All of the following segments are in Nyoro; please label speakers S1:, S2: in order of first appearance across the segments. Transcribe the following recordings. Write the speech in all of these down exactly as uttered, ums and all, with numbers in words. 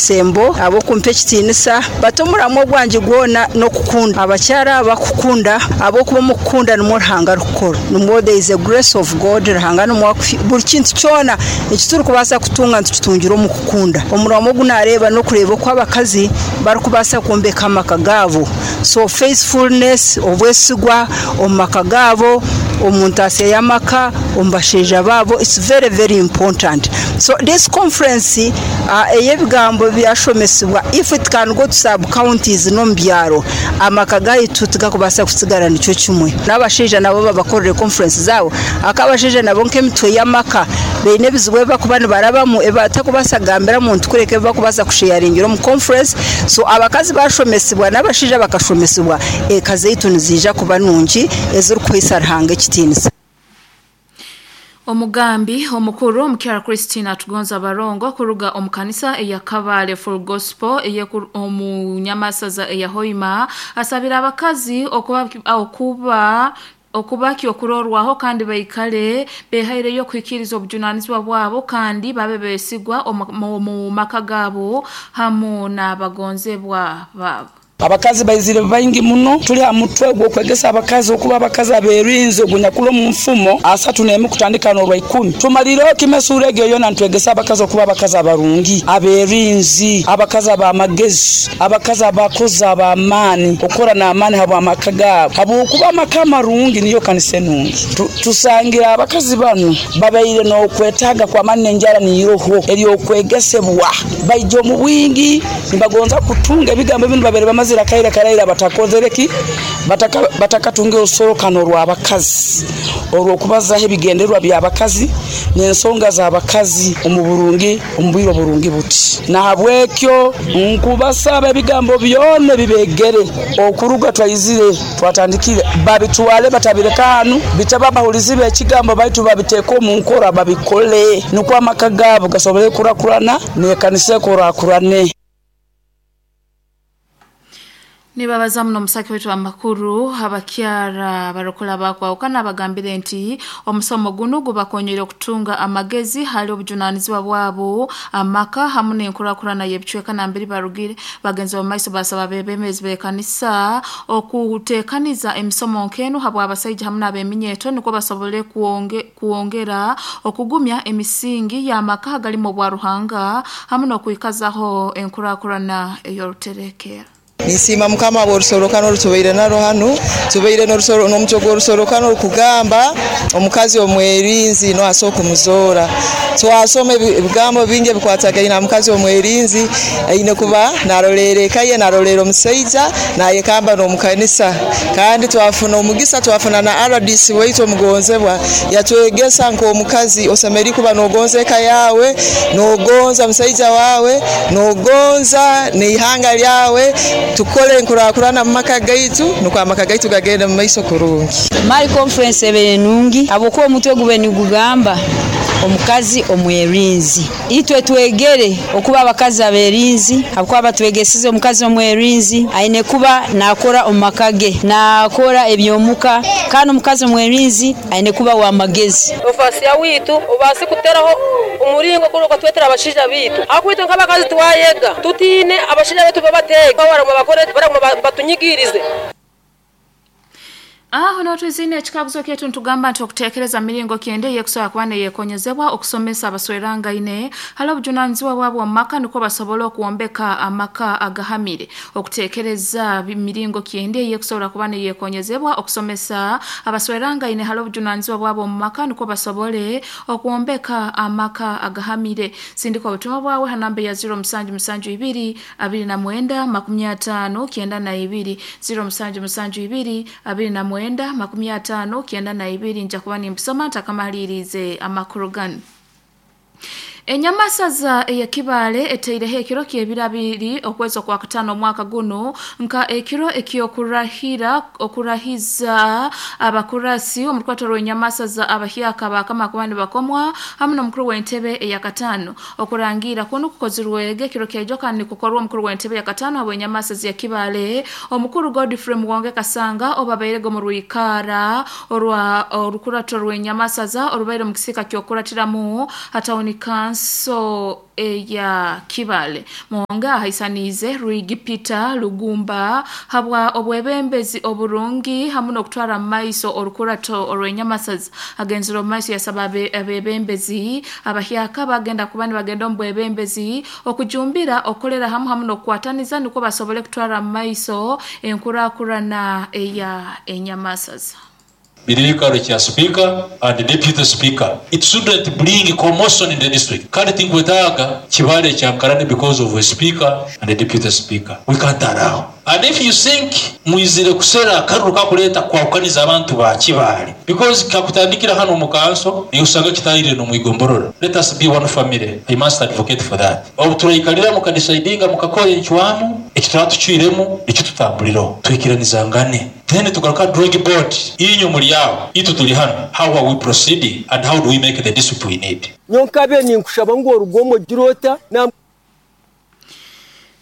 S1: Asembo abokumpa ekitiinisa bati omuramu ogwange gwona n'okukunda abakyara abakukunda abokuba omukukunda nimwo Ruhanga arikukora nimwo there is a grace of God. Ruhanga nimwo buri kintu kyona ekiturikubaasa kutunga nitukitungira omu kukunda. Omuramu ogu nareeba n'okureeba oku abakazi barikubaasa kwombeka amaka gaabo, so faithfulness, obwesigwa omu maka gaabo, omu ntaasya y'amaka, omu bashaija baabo, it's very very important. So this conference ey'ebigambo byashomesibwa, if it can go to sub counties n'omu byaro, amaka gaitu tigakubaasa kusigara nikyo kimwe. N'abashaija nabo babakorere conference zaabo, aka abashaija nabo nk'emitwe y'amaka baine ebizibu ebi bakuba nibarabamu ebatakubaasa kugambira muntu kureka ebi bakubaasa kusharingira omu conference. So abakazi bashomesibwa n'abashaija bakashomesibwa, eka zaitu niziija kuba nungi ezirikuhaisa Ruhanga ekitiinisa.
S2: Omugambi omukuru omukyara Christina Tugonza Barongo kuruga omukanisa eya Kabale Full Gospel eye omunyamasaza eya Hoima asabira abakazi okuba okuba okubaki okurorwaho kandi baikale behaireyo kwikiriza obujunanizibwa bwabo kandi babe besigwa mu maka gabo hamu n'abagonzebwa babo.
S3: Abakazi baizire baingi muno, tuli ha mutwe gw'okwegesa abakazi okuba abakazi aberinzi ogunyakula omu nfumo asatu n'emu kutandika n'orwa ikumi. Tumalireho kimesura egyo yona nitwegesa abakazi okuba abakazi abarungi, aberinzi, abakazi ab'amagezi, abakazi abakozi ab'amaani, okukora n'amaani habw'amaka gaabo. Habwokuba amaka amarungi niyo kanisa enungi. Tusangira abakazi banu babaire n'okwetaaga kw'amaani n'enjara niiroho ery'okwegesebwa. Baija omu bwingi nibagonza kutunga ebigambo ebinu babaire bamaze kaira karaira batakozereki bataka batakatunga orusorokano rw'abakazi orw'okubazaho ebigendererwa by'abakazi n'ensonga z'abakazi omu burungi omu bwire oburungi buti. Nahabwekyo nkubasaba ebigambo byona bibegere okuruga twaizire twatandikire babitwale batabireka hanu bitaba abahulizi b'ekigambo baitu babiteeka omu nkora babikole nukwo amaka gaabo gasobole kurakurana n'ekanisa ekurakurane.
S2: Nibabaza muno omusaki wetu amakuru abakyara barokola bakwawukana bagambire nti omusomo guno gubakonyera okutunga amagezi hali obujunanizibwa bwabo amaka hamu n'enkurakurana y'ebicweka nambiri barugire. Bagenzi b'amaiso basaba bebemezi b'ekanisa okuteekaniza emisomo nkenu habwa abasaija hamu n'abeminyeto nukwo basobole kuonge, kuongera okugumya emisingi y'amaka agalimu obwa Ruhanga hamu n'okwikazaho enkurakurana ey'oruterekero.
S4: Nisiima Mukama bw'orusorokano rutubaire naro hanu, tubaire n'orusoro n'omutwe gw'orusorokano rukugamba omukazi omwerinzi noasoka kumuzoora. Twasoma ebigambo bingi ebikwatagaine na mukazi omwerinzi aine kuba narolera eka ye, narolera omusaija, nayekamba n'omukanisa. Kandi twafuna omugisa, twafuna na R D C waitu omugonzebwa yatwegesa nk'omukazi osemeri kuba nogonza eka yawe, nogonza musaija wawe, nogonza n'ihanga lyawe. Tukole enkurakurana mu maka gaitu nukwo amaka gaitu gagenda mu maiso kurungi.
S5: Mali conference ebere nungi abokuba omutwe gube nigugamba omukazi omwerinzi. Itwe twegere okuba abakazi aberinzi, abakuba batwegesize omukazi omwerinzi aine kuba nakora omumaka ge, nakora ebyomuka, kandi omukazi omwerinzi aine kuba wa magezi.
S6: Ofasi ya witu obasi kuteraho omuringo kuruka twetera abashija bitu. Akwitwe nk'abakazi twayega tutine abashija betu babatega barakore batunyigirize.
S2: Aho no twizine ekikaguzo kyetu ntugamba nti okutekereza miringo kyende yekusobola kuba neyekonyezebwa okusomesa abaswerangaine hali obujunanizibwa bwabo omu maka nukwo basobole okuwombeka amaka agahamire. Okutekereza miringo kyende yekusobola kuba neyekonyezebwa okusomesa abaswerangaine hali obujunanizibwa bwabo omu maka nukwo basobole okuwombeka amaka agahamire. Sindika obutumwa bwawe ha namba ya zero musanju musanju ibiri abiri na mwenda makumi atano kyenda na ibiri zero musanju musanju ibiri abiri na mwenda makumi atano kyenda na ibiri. Nja kuba nimbisoma ntakamalirize amakuru gano. Enyamasaza eya Kibale eteireho ekiro ky'ebirabiri okwezi okwa katano omwaka guno nka ekiro ekyokurahira okurahiza abakurasi omukwato rw'enyamasaza abahyaka bakama kubandi bakomwa hamu n'omukuru w'entebe eya katano. Okurangira kuno kukozirwege ekiro kyejo kandi kukorwa omukuru w'entebe ya katano habw'enyamasaza ya Kibale omukuru Godfrey Muwonge Kasanga obabairego mu rwikara orwa orukurato rw'enyamasaza orubaire mu kisika kyokuratiramu hatawuni kanso eya Kibale. Muhonga ahaisanize Rwigi Peter Lugumba habwa obwebembezi oburungi hamu n'okutwara maiso orukurato orw'enyamasaza. Agenzire omu maiso yasaba abebembezi abahyaka bagenda kuba nibagenda omu bwebembezi okujumbira okolera hamu hamu n'okukwataniza nukwo basobole kutwara maiso enkurakurana eya enyamasaza.
S7: Birikaro kya speaker and the deputy speaker. It shouldn't bring commotion in the district. Kandi tinkwetaaga Kibale kyankarane because of a speaker and a deputy speaker. We can't allow. And if you think mwizire kusera akaruru kakuleta kwawukaniza abantu ba Kibale, because kakutandikira hano mu kanso niusanga kitayire no mwigomborora. Let us be one family. I must advocate for that. Obu turaikalira mukadecidinga mukakora enchwamu ekitatuchwiremu ekitutambuliro twikiranizangane. Then tugaruka drawing board inyo muri yawo itu tuli hano. How are we proceeding and how do we make the district we need?
S8: Nyonkabe ninkushaba ngo orugomo girota na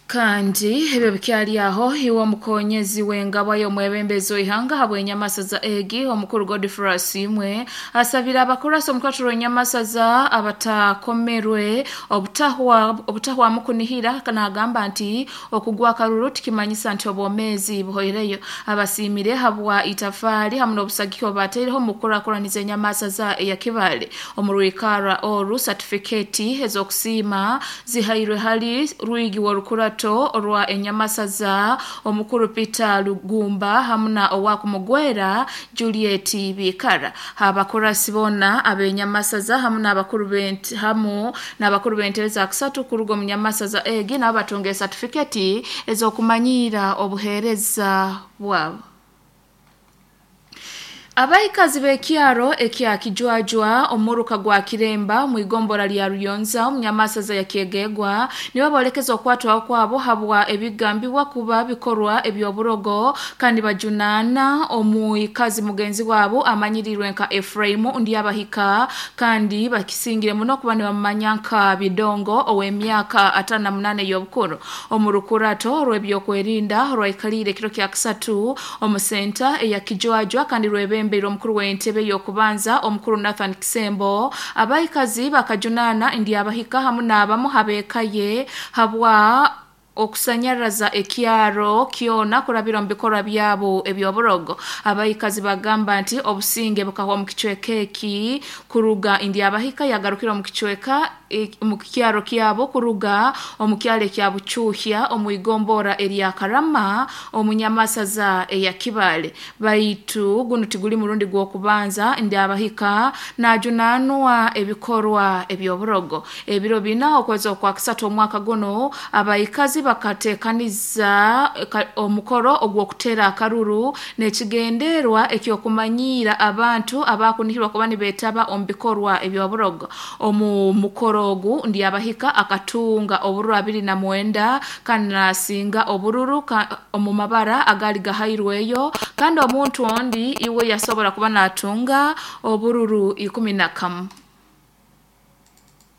S2: Kandi ebyo bikyali aho iwe mukonyezi w'engabo y'omwebembezi w'ihanga habw'enyamasaza egi omukuru Godfrey Asimwe asabira abakurasa omukwato rw'enyamasaza abatakomerwe obutahwa obutahwamu kunihira kanagamba nti okugwa akaruru tikimanyisa nti obwomezi buhoireyo. Abasimire habwa itafari hamu n'obusagiko bateireho mu kukurakuraniza enyamasaza eya Kibale. Omurwikara oru certificate ez'okusiima zihairwe hali Rwigi w'orukurato orwa enyamasaza omukuru Peter Lugumba hamu na owakumugwera Juliet Bikara. Abakurasi bona abenyamasaza hamu n'abakuru bent hamu n'abakuru b'entebe za kusatu kuruga mu nyamasaza egi n'abatunga certificate ez'okumanyira obuhereza bwabo. Abaikazi b'ekyaro ekya Kijwajwa omuruka gwa Kiremba mwigombora lya Ruyonza omunyamasaza ya Kyegegwa nibo bolekeza okwatwa kwabo habwa ebigambibwa kuba bikorwa ebyoburogo kandi bajunana omuikazi mugenzi wabo amanyirirwe nka Ephraim undi abahika kandi bakisingire muno kuba nibamanya nka Bidongo ow'emyaka atano na munane y'obukuru. Omurukurato rw'ebyokwerinda rwaikalire kiro kya kusatu omusenta eya Kijwajwa kandi rwebe mbere omukuru w'entebe y'okubanza omukuru Nathan Kisembo. Abaikazi bakajunana ndi abahika hamu n'abamu habekaye habwa okusanyaraza ekyaro kyona kurabira mu bikorwa byabo ebyoburogo. Abaikazi bagamba nti obusinge bukahwa mu kicweka eki kuruga indi abahika yagarukira mu kicweka mu kyaro kyabo kuruga omu kyalo ekya Bucuhya omuigombora erya Karama omunyamasaza eya Kibale. Baitu guno tiguli murundi gw'okubanza ndi abahika najunanwa ebikorwa ebyoburogo. Ebiro bina okwezi okwa kusatu omwaka guno abaikazi bakatekaniza omukoro ogw'okutera akaruru n'ekigenderwa ekyokumanyira abantu abakunihirwa kuba nibetaba omu bikorwa ebyoburogo. Omu mukoro ogu ndi abahika akatunga obururu abiri na mwenda kandi nasinga obururu omu mabara agali gahairweyo kandi omuntu ondi iwe yasobora kuba natunga obururu ikumi na kamu.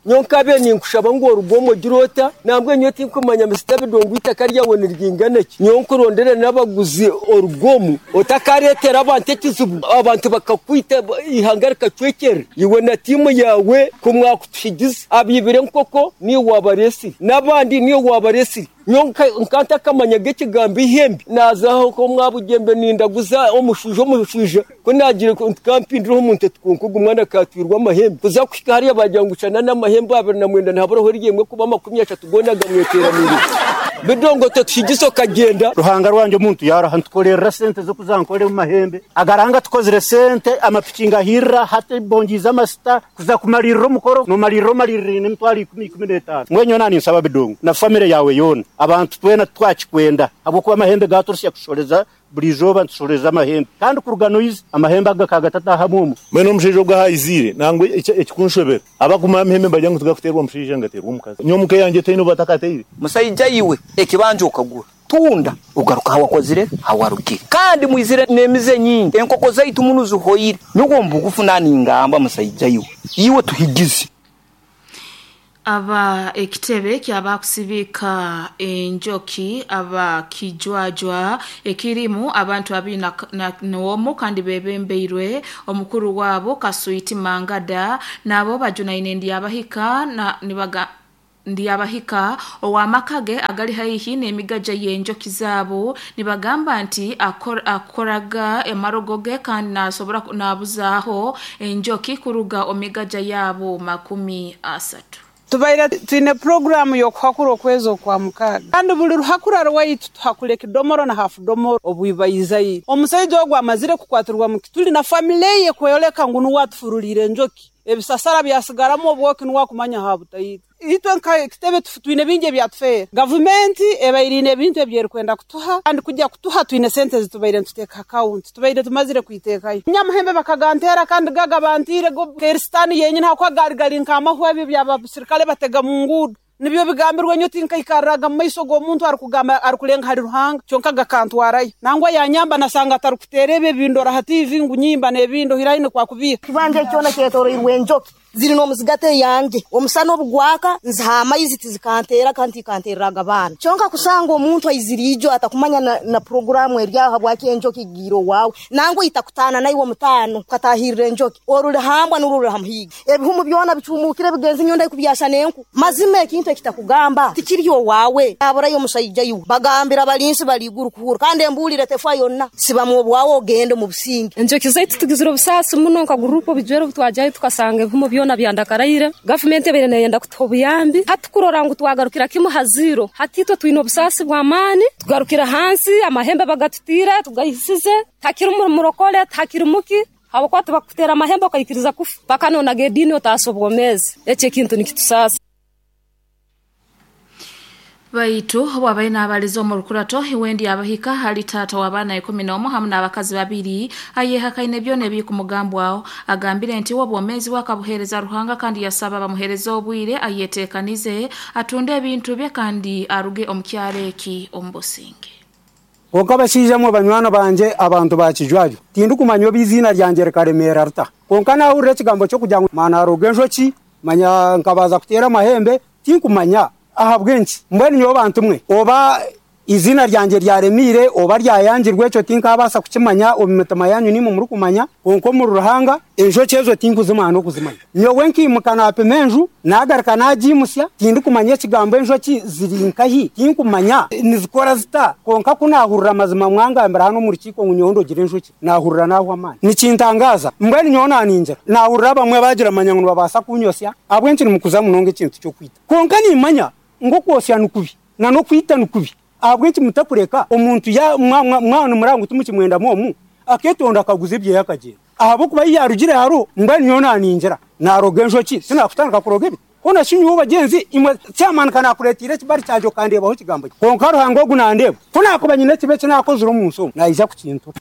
S8: Nyonkabe ninkushaba ngo orugomo girota nambwe nyo tinkumanya Mister Bidongo itaka ryawe niryingana ki nyonkurondera n'abaguzi orugomo otakaretera abantu ekizibu abantu bakakwita ihanga rikacwekera iwe na timu yawe kumwakutushigiza abibire nkoko ni wabaresi n'abandi ni wabaresi nyonka nkanta kamanya gekigambo ihembe nazaho ko mwabugembe nindaguza omushujo omushujo ko nagire kampindiro omuntu tukunkugu mwana katwirwa amahembe kuza kushika hariya bagira ngucana n'amahembe abiri na mwenda ntaburaho ryemwe kuba makumi ashatu gonaga mweteranire Bidongo tutushigiso kagenda
S9: ruhanga rwanje omuntu yaraha ntukorera sente zo kuzankore mu mahembe agaranga tukozire sente amapikinga hirra hate bongiza amasita kuza kumalirira omukoro nomalirira omalirira emitwaro ikumi ikumi n'etaano mwenyo nani nsaba Bidongo na famire yawe yona abantu twena twakikwenda habwokuba amahembe gaturusya kushoreza buri joba ntushoreza amahembe kandi kurugano izi amahembe agakagatatahamu omu
S10: mwene omushaija ogahayizire nangwe ekikunshobera abakuma amahembe mbagira ngu tugakuterwa omushaija ngaterwa omukazi nyowe omuka yangye teine obu batakateire
S11: musaija iwe ekibanja okagura tunda ugaruka hawakozire hawarugire kandi mwizire n'emize nyingi enkoko zaitu muno zihoyire nigwo mbugufu nani ngamba musaija iwe iwe tuhigize.
S2: Aba ekitebe kyabakusibika enjoki aba kijwajwa ekirimu abantu abiri n'omu kandi bebembeirwe omukuru wabo Kasuiti Mangada nabo bajunaine ndi abahika na nibaga ndi abahika owamakage agali haihi n'emigaja y'enjoki zaabo nibagamba nti akor, akoraga emarogoge kandi nasobora nabuzaaho enjoki kuruga omigaja yabo makumi asatu.
S12: Tubaire twine programu y'okuhakura okwezi okwa mukaaga kandi buli ruhakura rwaitu tuhakura ekidomoro na hafu domoro obwibaizaire. Omusaija ogwo amazire kukwatirwa mu kituli na famile ye kweyoleka ngu nuwe atufururiire enjoki, ebisasara byasigaramu obwoki nuwe akumanya ha butaire. Itwe nka ekitebe twine bingi ebyatufeera. Gavumenti ebaire ebintu ebyerikwenda kutuha kandi kujja kutuha twine sente zitubaire nituteeka account tubaire tumazire kuiteekayo. Nyamahembe bakagantera kandi gagabantire go keristani yenyine hakwa gari gari nkamahwa ebyo byabasirikale batega mu ngudo nibyo bigambirwe nyo tinkaikarraga mu maiso g'omuntu arikugamba arikulenga hali Ruhanga kyonka gakantwarayo nangwa yanyamba nasanga atarikuteera ebyo ebindora ha T V ngu nyimba n'ebindo hiraine kwakubiha.
S13: Kibanja kyona kyetoroirwe enjoki ziri n'omuzigate yange omusana obugwaka nziha amaizi tizikantera kandi tikantereraga abaana kyonka kusanga omuntu aiziriijo atakumanya na, na programu eryaho habwaki enjoki igiro wawe nangwa itakutana naiwe omutaano ukatahirira enjoki orurihambwa n'orurihamuhiga ebihumu byona bicumukire bigenzi nyonda ikubyasha n'enku mazima ekintu ekitakugamba tikiriyo wawe aburayo omushaija iwe bagambira balinsi baliguru kuhura kandi embuulire tefa yonna sibamu obwawe ogende mu businge.
S14: Enjoki zaitu tugizire obusaasi muno nka gurupu obijwero obutwajyayo tukasanga ebihumu byona byandakaraire. Gavumenti ebaire neyenda kutuha obuyambi hati kurora ngu twagarukira kimu ha zero hati itwe twine obusaasi bw'amaani tugarukira hansi amahembe bagatutira tugahisize takiri murokole takiri muki habwokuba tubakutera amahembe okaikiriza kufa paka nonaga ediini otaasa obwomeezi. Ekyo ekintu nikitusaasa.
S2: Baitu wabaye n'abaliza omu rukurato iwendi abahika hali tata w'abaana ikumi n'omu hamu n'abakazi babiri ayehakaine byona ebikumugambwaho agambire nti obwomeezi bwakabuheereza Ruhanga kandi yasaba bamuheereza obwire ayeteekanize atunde ebintu bye kandi aruge omu kyaro eki omu businge.
S15: Konka abashaija mwe banywana banje abantu bakijwajwa tindikumanya oba iziina ryangye rikaremeera rita konka nahurira ekigambo ky'okugira ngu maana aroga enjoki manya nkabaza kuteera amahembe tinkumanya ahabwenki mbwenu nyowe bantu mwe oba izina ryangye ryaremire oba ryayangirwe ekyo tinkabaasa kukimanya omu mitima yanyu nimwe murikumanya konka omu Ruhanga enjoki ezo tinkuzimanya n'okuzimanya. Nyowe nkiimuka naapima enju naagaruka naagiimusya tindikumanya ekigambo enjoki ziri nkahi tinkumanya nizikora zita konka ku naahurira amazima mwangambira hano omu rukiiko ngu nyowe ndogire enjoki naahurira naahwa amaani nikintangaza mbwenu nyowe naaningira naahurira abamwe bagira manya ngu nibabaasa kunyosya ahabwenki nimukuza munonga ekintu ky'okwita konka nimanya ngokwosya nikubi na nokwita nikubi ahabwenki mutakureka omuntu ya mwana murangu tumukimwendamu omu aketonda akaguza ebye yakagira ahabwokuba yarugire haro mbwenu nyowe naningira naroga enjoki sinakutandika kuroga ebi hona shinyuwo bagenzi imwe kyamanika nakureetire ekibari kyangye okandeebaho ekigambo konka Ruhanga ogu nandeeba ku nakuba nyine ekibi eki nakozire omu nsi omu naija kukintura.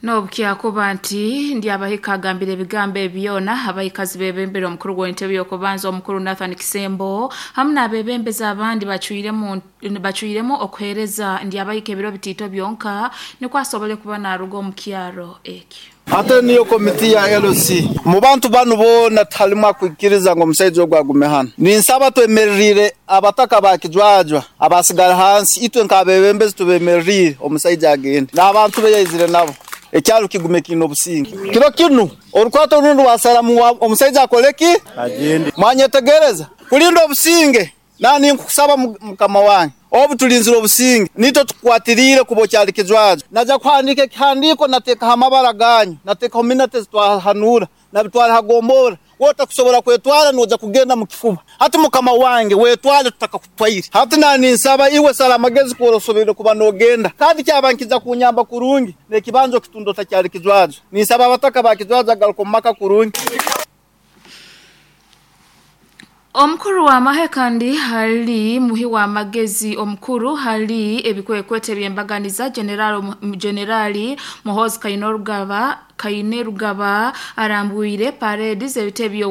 S2: Nobukyakuba nti ndi abahika agambire ebigambo ebyona abayikazi bebembere omukuru gw'entebe y'okubanza omukuru Nathan Kisembo hamu n'abebembezi abandi bacwiremu bacwiremu okuheereza ndi abahika ebiro bitiito byonka nikwo asobole kuba naruga omu kyaro ekyo.
S16: Ate niyo komiti ya L C mu bantu banu boona tiharimu akwikiriza ngu omushaija ogwo agume hano. Ninsaba twemererire abataka bakijwajwa abasigara hansi itwe nk'abebembezi tubemererire omushaija agende n'abantu be yaizire nabo ekyaro kigume kino obusinge. Kiro kinu orukwato rundi wasaramu omushaija akoleki agende mwanyetegereza kulinda obusinge nani nkusaba mukama wange obu tulinzira obusinge nito tukwatirire kubo kyali kijwajo naja kuhandika ekihandiko nateka amabara ganyu nateka minate twahanura nabitwara hagombora wota kusobora kwetwara noja kugenda mu kifuba hati mukama wange wetwale tutakakutwaire hati nani nsaba iwe sala amagezi kuorosobere kuba nogenda kandi kyabankiza kunyamba kurungi nekibanzo kitundo takyali kijwajo nisaba abataka bakijwajo agaruka mu maka kurungi.
S2: Omukuru wa mahe kandi hali muhi wa magezi omukuru hali ebikwekwete byembaganiza General Generali Muhoozi Kainerugaba Kainerugaba arambuire paredi z'ebitebe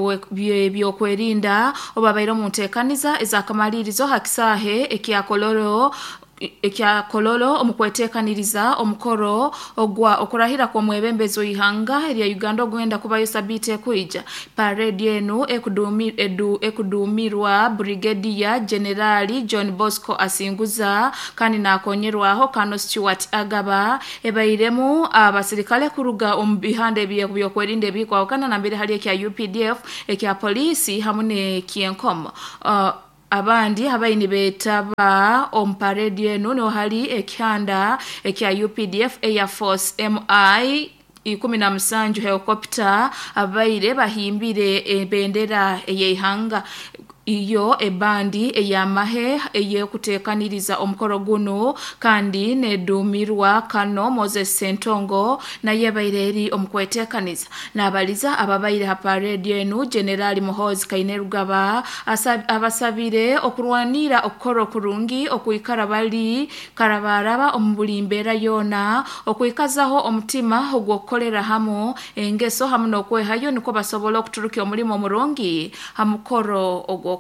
S2: byokwerinda obabaire mu nteekaniza ezakamalirizo hakisahe ekyakoloro ekya Kololo omukwetekaniriza omukoro ogwa okurahira kwa mwebembezi w'ihanga erya Uganda ogwenda kubayo sabite ekuija. Parade enu ekudumi, edu, ekudumirwa Brigadier Generali John Bosco Asinguza kandi nakonyerwaho Kano Stewart Agaba. Ebairemu abasirikale kuruga omu bihanda ebyokwerinda ebikwawukana na mbere hali ekya U P D F, ekya polisi hamwe n'ekyenkomo. Uh, abandi abaini betaba omparedi enu no hali ekyanda ekya U P D F Air Force M I ikumi na musanju helicopter abaire bahimbire ebendera ey'ihanga. Iyo ebandi eyamahe eyekutekaniriza omukoro guno kandi nedumirwa Kano Moses Sentongo naye baire eri omukwetekaniza. Nabaliza ababaire ha parade enu Generali Muhoozi Kainerugaba abasabire okurwanira okukora kurungi okuikara bali karabaraba omu mbeera yona okuikazaho omutima ogw'okukolera hamu engeso hamu n'okwehayo niko basobola okuturuka omulimo omurungi hamukoro ogwo.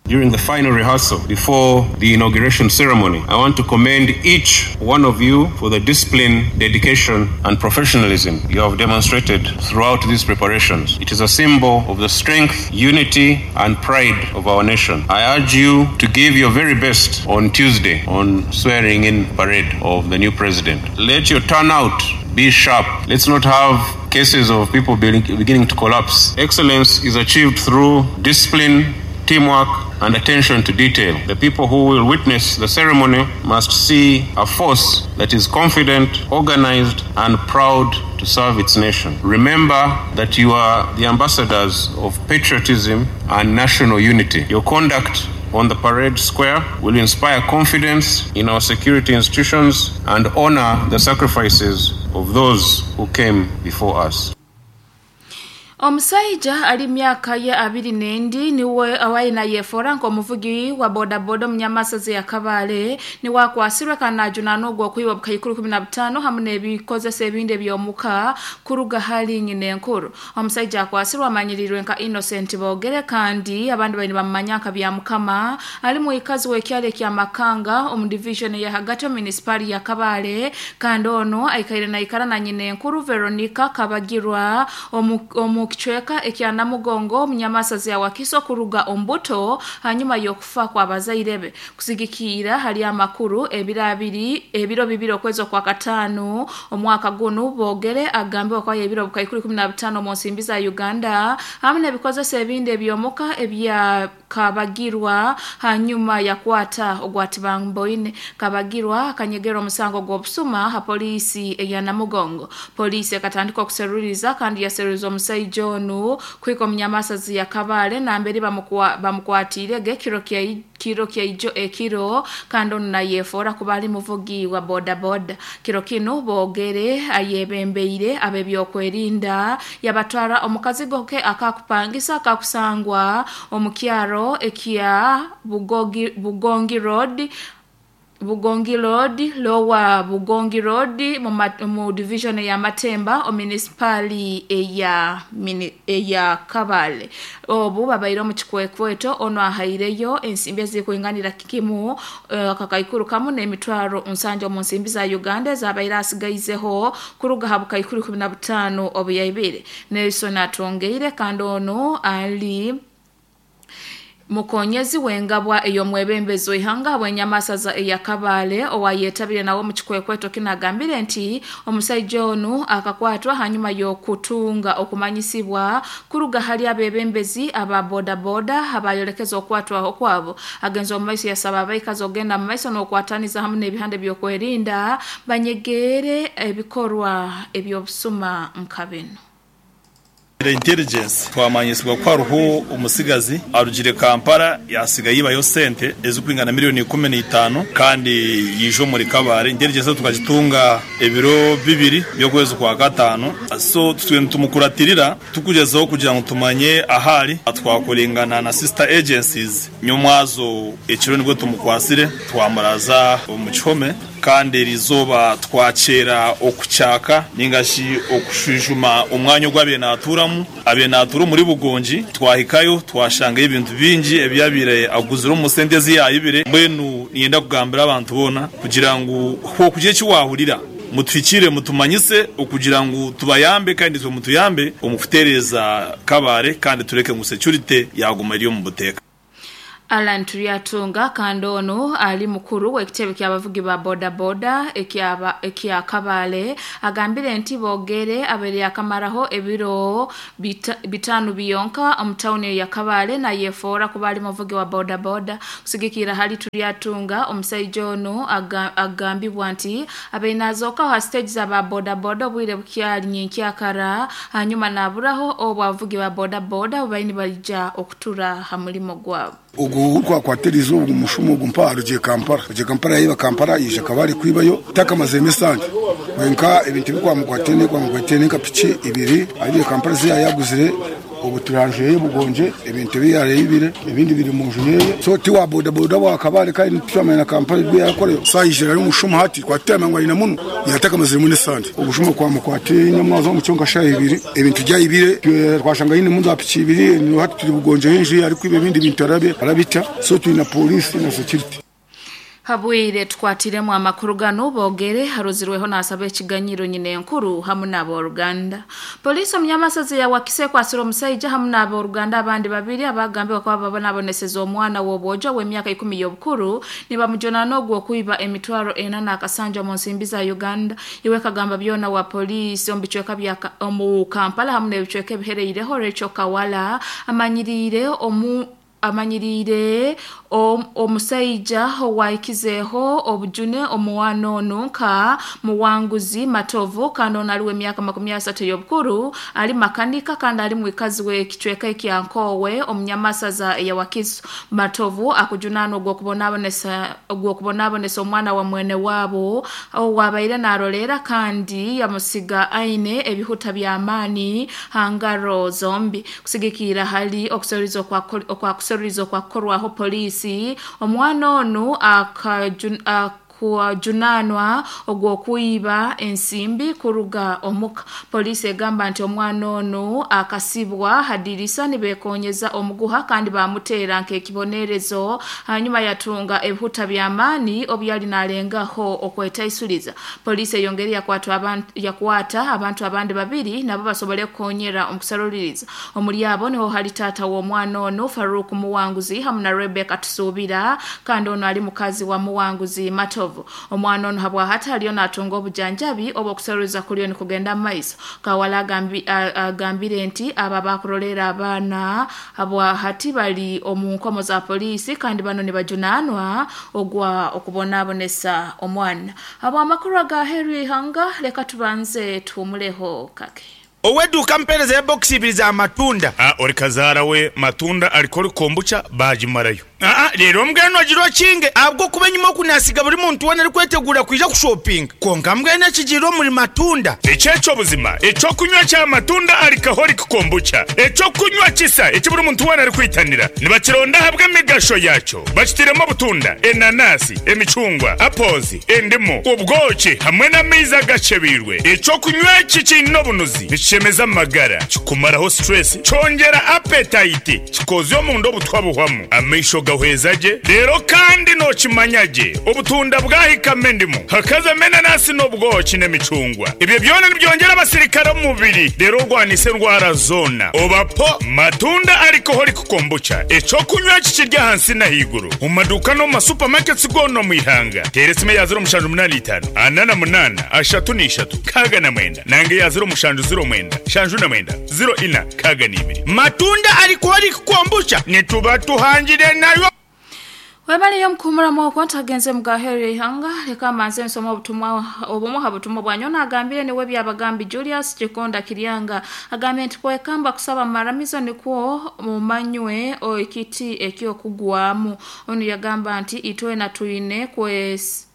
S17: During the final rehearsal before the inauguration ceremony, I want to commend each one of you for the discipline, dedication, and professionalism you have demonstrated throughout these preparations. It is a symbol of the strength, unity, and pride of our nation. I urge you to give your very best on Tuesday on swearing-in parade of the new president. Let your turnout be sharp. Let's not have cases of people beginning to collapse. Excellence is achieved through discipline, teamwork, and attention to detail. The people who will witness the ceremony must see a force that is confident, organized, and proud to serve its nation. Remember that you are the ambassadors of patriotism and national unity. Your conduct on the parade square will inspire confidence in our security institutions and honor the sacrifices of those who came before us.
S2: Omusaija ali myaka ye abiri nendi niwe awaina yefora nko wa boda boda munyamasazi ya Kabale niwe akwasirwe kanajuna n'ogwo kuyiba bukayikuru kumi na butano hamwe n'ebikozesa ebindi ebyomuka kuruga hali nyine enkuru. Omusaija akwasirwe amanyirirwe nka Innocent Bogere kandi abandi bali bamumanya nka bya Mukama ali muikazi w'ekyalo kya Makanga omu division ya Hagati municipality ya Kabale kandi ono aikaire naikara na nyine enkuru Veronica Kabagirwa omu, omu kichweka ekya Namugongo munyamasazi ya Wakiso kuruga ombuto hanyuma yokufa kwa bazairebe. Kusigikira hali amakuru ebiro abiri ebiro bibiri okwezo kwa katano omwaka guno Bogere agambe kwa ebiro bukaikuru kumi na butano mu nsimbi za Uganda hamwe n'ebikozesa ebindi ebyomuka ebya Kabagirwa hanyuma yakwata ogwatibamboine. Kabagirwa akanyegera omusango gw'obusuma ha polisi eya Namugongo. Polisi akatandika okuseruriza kandi yaseruriza omusajja onu kwiko munyamasazi ya Kabale na mbere bamukwatire kiro kya kiro kya ijo ekiro kandi ono nayefora kuba ali muvugi wa boda boda. Kiro kino Bogere ayebembeire abebyokwerinda yabatwara omukazi goke akakupangisa akakusangwa omukyaro ekya Bugogi, Bugongi Road Bugongi Road Lower Bugongi Road mu, mu division ya Matemba o municipali eya mini, eya Kabale. Obu babaire mu kikwekweto ono ahaireyo ensimbi ezikuinganira kikimu uh, kakaikuru kamu n'emitwaro nsanjo mu nsimbi za Uganda zabaire asigaizeho kuruga ha bukaikuru kumi na butano obuyaibire. Nelson atongeire kandi ono ali mukonyezi wengabwa eyo mwebembezo ihanga wenyamasaza eya Kabale owayetabire nawo mu kikwekweto kinagambire nti omusajja onu akakwatwa hanyuma y'okutunga okumanyisibwa kuruga hali abebembezi aba boda boda abayolekeza okwatwaho kwabo. Agenza omu maiso yasaba abaikazi ogenda mu maiso n'okwataniza hamwe n'ebihande by'okwerinda banyegere ebikorwa eby'obusuma nka bino.
S18: Intelligence twamanyisibwa ko hariho umusigazi arugire Kampala yasigaye yibayo sente ezikwingana miliyoni ikumi n'itano kandi yijo muri Kabare. Intelligence tukagitunga ebiro bibiri byo kwezi kwa gatano, so tutwe tumukuratirira tukugezaho kugira ngo tumanye ahari twakorengana na sister agencies nyumwazo ekiro nibwo tumukwasire twamuraza mu kihome kandi rizoba twakera okucyaka ningashi okushujuma umwanya gwabye natura Kurugamu abe natura muri Bugongi. Twahikayo twashanga ebintu bingi ebyabire aguzire omu sente ziyayibire. Mbwenu niyenda kugambira abantu bona kugira ngu kugira ekiwahurira mutufikire mutumanyise okugira ngu tubayambe kandi twe mutuyambe omukutereza Kabare kandi tureke mu security yaguma eri omu buteka.
S2: Alan Turyatunga kandi ono ali mukuru w'ekitebe ky'abavugi ba boda boda ekyaba ekya Kabale agambire nti bogere abere akamaraho ebiro bita, bitanu biyonka omu tawuni ya Kabale na yefora kuba ali muvugi wa boda boda. Kusigikira hali Turyatunga omusajja ono aga, agambibwa nti abeinazoka ha stage za ba boda boda obwire bukyali nyenkyakara hanyuma naburaho obwavugi ba boda boda baini balija okutura ha mulimo gwabo.
S19: Ogu kwakwatiriza ogu mushumo ogu mparo je Kampala je Kampala yiba Kampala yije Kabale kwibayo takamaze emisante wenka ebintu bikwamukwatene kwamukwatene nka pichi ibiri ayiye Kampala ziya yaguzire obuturanje yebugonje ebintu biyare ibire ebindi biri mu nju yeye so tiwa boda boda wa Kabale kandi twamena Kampala bwe yakore sayije ari mushumo hati kwatema ngo ina muno yatakamaze mu nesante obushumo kwamukwatene mwazo mu cyonga shaye ibiri ebintu bya ibire twashanga yine munzu apichi ibiri ni hati turi bugonje henji ari kwibe ibindi bintu arabe arabita so turi na polisi na security.
S2: Habwire tukwatiremu amakuru gano bogere haruzirweho nasaba ekiganyiro nyine nkuru hamu n'aboruganda. Polisi omunyamasazi ya Wakise kwasira omusajja hamu n'aboruganda abandi babiri abagambe bakaba babonaboneseza omwana w'obwojo w'emyaka ikumi y'obukuru nibamujona n'ogwo okuiba emitwaro ena n'akasanja mu nsimbi za Uganda. Iwe kagamba byona wa polisi omu bicweka bya omu Kampala hamu n'ebicweka ebihereireho Rachel Kawala amanyirire omu amanyirire omusajja owaikizeho obujune omuwano ono nka Muwanguzi Matovu kandi ono aliwe emyaka makumi asatu y'obukuru ali makanika kandi ali mwikazi we kicweka ekyankowe omunyamasaza ya Wakiso. Matovu akujunana ogw'okubonabonesa ogw'okubonabonesa omwana wa mwene wabo owabaire narolera kandi yamusiga aine ebihuta by'amaani hangaro zombi. Kusigikira hali okusoririza okwa okwa kusoririza okwakorwaho polisi omwana ono akajunanwa ogw'okuiba ensimbi kuruga omuka. Polisi egamba nti omwana ono akasibwa hadirisa nibekonyeza omuguha kandi bamuteera nk'ekibonerezo hanyuma yatunga ebihuta by'amaani obyali nalengaho okwetaisuliza. Polisi eyongere yakwata abantu yakwata abantu abandi babiri nabo basobole kukonyera omukusaluliriza. Omuli abo niho hali taata w'omwana ono Farouk Muwanguzi hamu na Rebecca Tusubira kandi ono ali mukazi wa Muwanguzi Matovu. Omwana ono habwa hata aliyo natunga obujanjabi obwokusaruliza kuliyo nikugenda maiso. Kawala agambi, agambire nti aba bakurolera abaana habwa hati bali omu nkomo za polisi kandi bano nibajunanwa ogwa okubonabonesa omwana. Habwa amakuru aga Henry Hanga leka tubanze tuhumuleho kake.
S20: Oweduka mpereza ya box ibiri za matunda.
S21: Ah, ori kazara we matunda alikori kombucha bajimarayo.
S20: Ah, rero mbweno agiro kinge abwo kuba nyuma kunasiga buri muntu wana ari kwetegura kuja ku shopping. Konka mbwene kijiro muri matunda.
S21: Echecho buzima, echo kunywa cha matunda alikahori kombucha. Echo kunywa kisa, echi buri muntu wana ari kwitanira. Nibakironda habwe migasho yacho. Bakitiremo butunda, enanasi, emicungwa, apples, endimu, ubwoki hamwe n'amaizi gachebirwe. Echo kunywa kikino bunuzi. Chemeza magara, kikumaraho stress, chongera appetite, kikozyo omundu obutwabuhwamu, amaisho gahwezaje, rero kandi no kimanyaje, obutunda bwahikame endimu, hakaza menanasi n'obwoki n'emicungwa. Ibyo byona nibyongera abasirikare mu mubiri, rero urwanise ndwara zona. Obapo matunda alcoholic kombucha, echo kunywa kikirya hansi na higuru. Mu maduka no mu supermarkets gono mu ihanga. Teresime ya zero mushanju munani itanu, anana munana, ashatu n'ishatu, kaga na mwenda, nange ya zero mushanju zero mwenda, shanju na mwenda, zero ina, kaga n'ibiri.
S20: Matunda alcoholic kombucha, nituba tuhangire nayo.
S2: Webale yo mkumura mwako ntagenze mugaheri hanga leka manze nsoma obutumwa obumu habutumwa bwanyona agambire ni webi abagambi Julius Chikonda Kiryanga agambye nti kwekamba kusaba maramizo nikuo mumanywe oikiti ekyo kugwamu. Ono yagamba nti itwe na tuine kwes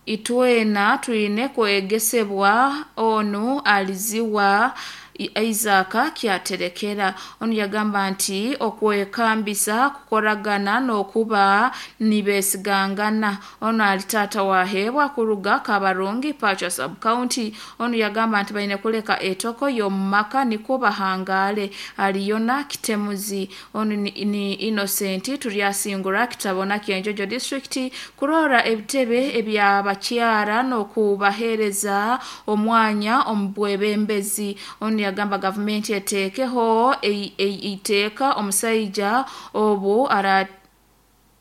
S2: itwena tuine kwegesebwa onu aliziwa Isaac Kyaterekera. Onu yagamba nti okwekambisa kukoragana n'okuba nibesigangana. Onu ali taata wahebwa kuruga Kabarungi Pacho sub county. Onu yagamba nti baine kuleka etoko y'omumaka nikwo bahangale. Aliyona Kitemuzi. Onu ni, ni Innocent Turyasingura Kitabona Kyenjojo district kurora ebitebe ebyabakyara n'okubahereza omwanya omubwebembezi. Onu yagamba gavumenti eteekeho iteeka omusaija obu ara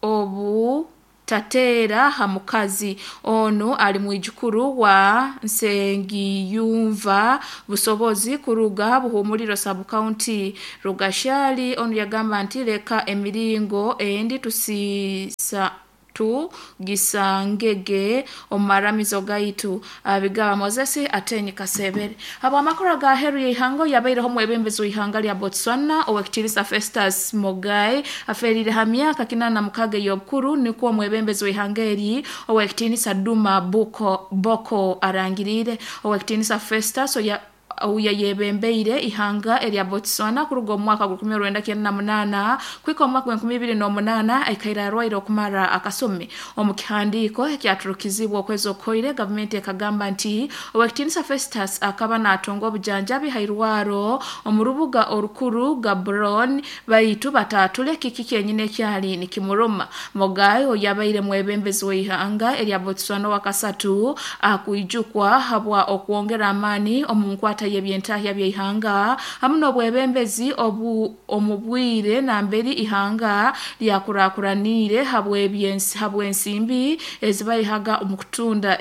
S2: obu tatera hamukazi. Onu ali mwijukuru wa Nsengiyumva Busobozi kuruga Buhumuliro sub county Rugashali. Onu yagamba nti leka emiringo endi tusisa tu gisangege omaramizo gaitu. Abigaba Moses atenyi Kasebere. Abo amakuru ga heru y'ihango yabaireho mwebembezi w'ihanga lya Botswana Owekitirisa Festus Mogae aferire ha myaka kinana mukage y'obukuru, nikuwa mwebembezi w'ihanga eri Owekitirisa Duma Boko, Boko arangirire. Owekitirisa Festus oya uya yebembeire ihanga erya Botswana kuruga omwaka gwa lwenda kyenda na munana kwika omwaka gwa nkumi ibiri n'omunana aikaira arwaire okumara akasumi. Omu kihandiiko ekyaturukizibwa okwezi okoire gavumenti ekagamba nti Owekitinisa Festus akaba natunga obujanjabi hairwaro omu rubuga orukuru Gabron baitu batatule kiki kyenyine ekyali nikimuruma. Mogae oyabaire mwebembezi w'ihanga erya Botswana wakasatu akwijukwa habwa okwongera amani omu nkwata y'ebyentahya by'ihanga hamu n'obwebembezi obu omubwire namberi ihanga lyakurakuranire habw'ebyensi habw'ensimbi ezibayihaga omu kutunda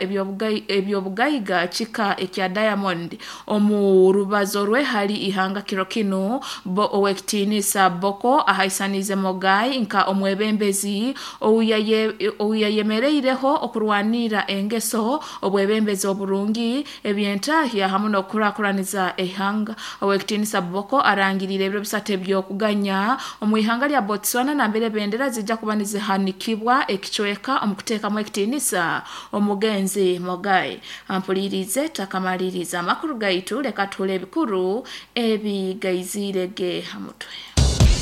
S2: ebyobugaiga kika ekya diamond. Omu rubazo rwe hali ihanga kiro kinu bo Owekitinisa Boko ahaisanize Mogae nka omwebembezi ouyayemereireho okurwanira engeso obwebembezi oburungi ebyentahya hamu n'okurakuraniza ehanga. Owekitinisa Boko arangirire ebiro bisatu eby'okuganya omu ihanga lya Botswana nambere bendera zijja kuba nizihanikibwa ekicweka omu kuteekamu ekitinisa omugenzi Mogae. Ampulirize takamaliriza amakuru gaitu, leka tuhule ebikuru ebigaizirege ha mutwe.